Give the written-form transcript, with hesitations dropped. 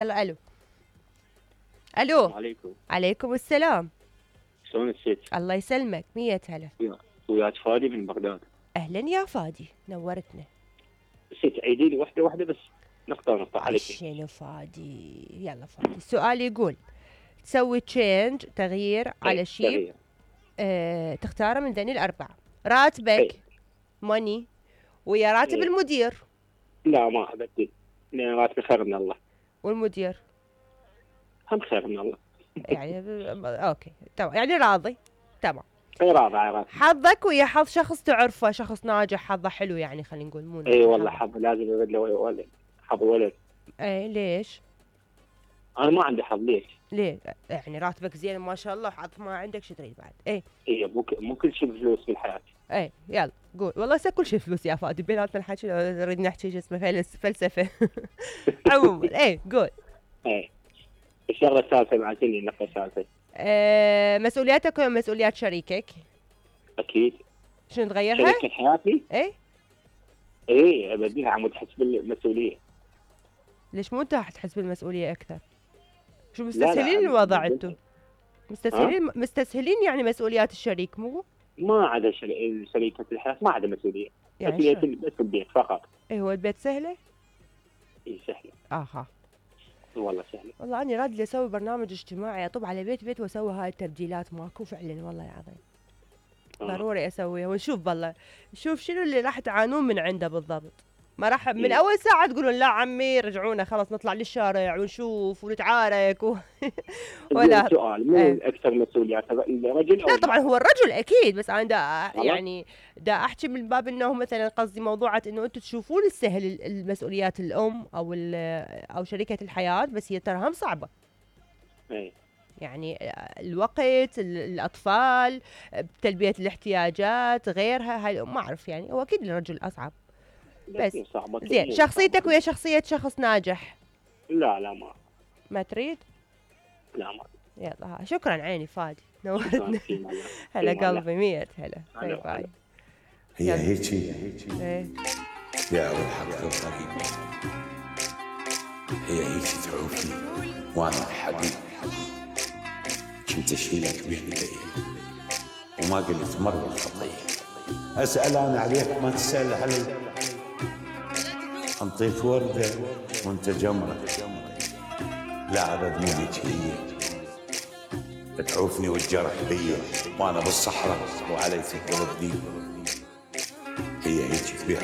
يلا الو. السلام الو. عليكم. عليكم السلام. شلون الست؟ الله يسلمك، مية هلا. وياك فادي من بغداد. اهلا يا فادي، نورتنا. ست عيدي لي واحدة بس، نقطة عليك. شنو فادي؟ يلا فادي، السؤال يقول تسوي تشينج، تغيير على شيء تغيير. تختاره من ذني الأربعة: راتبك، ماني، ويا راتب المدير. لا ما أبدل، لأن راتبي خير من الله. والمدير هم خير من الله. يعني اوكي تمام، يعني راضي. تمام. راضي. حظك ويا حظ شخص تعرفه، شخص ناجح، حظه حلو يعني، خلينا نقول مو اي والله حظ لازم يبدله ولد، حظ ولد. اي ليش؟ انا ما عندي حظ. ليه؟ يعني راتبك زين ما شاء الله، حظ ما عندك، شو تريد بعد؟ اي مو كل شيء بفلوس في الحياة. اي يلا قول. والله هسه كل شيء فلوس يا فادي، بيناتنا الحكي نريد نحكي شو اسمه فلسفه. عموما اي قول. اي الشغلة الثالثة بعتني النقطة الثالثة. مسؤولياتك ومسؤوليات شريكك؟ اكيد. شنو تغيرها؟ شريكة حياتي؟ اي ابديها عمود تحس بالمسؤولية. ليش مو انت تحس بالمسؤولية اكثر؟ شو مستسهلين الوضع انتم؟ مستسهلين يعني مسؤوليات الشريك مو؟ ما عدا شريكة الحياة ما عدا مسؤولية. يعني مسؤولية بس البيت فقط. اي هو البيت سهلة؟ اي سهلة. اها والله سهلة. والله اني راد لي اسوي برنامج اجتماعي، اطب على بيت واسوي هاي التبديلات ماكو فعلا والله العظيم. ضروري اسويها ونشوف والله، نشوف شنو اللي راح تعانون من عنده بالضبط. ما راح من اول ساعه تقولون لا عمي رجعونا خلاص نطلع للشارع ونشوف ونتعارك ولا سؤال مو اكثر مسؤوليات الرجل؟ لا طبعا هو الرجل اكيد، بس انا يعني دا احكي من باب انه مثلا قصدي موضوعات انه انتم تشوفون السهل المسؤوليات الام او شريكه الحياه، بس هي ترى هم صعبه. يعني الوقت، الاطفال، تلبيه الاحتياجات، غيرها، هاي ما اعرف يعني، هو اكيد الرجل اصعب. بس زين شخصيتك ويا شخصيه شخص ناجح؟ لا ما تريد؟ لا ما. يلا شكرا عيني فادي، نورتنا. هلا قلبي، مية هلا. باي باي. هي هيجي يا أول حق الطريق، هي هيجي تعوفني وانا الحبيب، كنت اشيلك بيدي وما قلت مرة خطية. اسأل انا عليك ما تسأل علي، انطيك وردة وانت جمرة، لا ابد مو هيك هي، تعوفني والجرح بيا وانا بالصحراء وعلي تقلب دي، هي هيك تبيع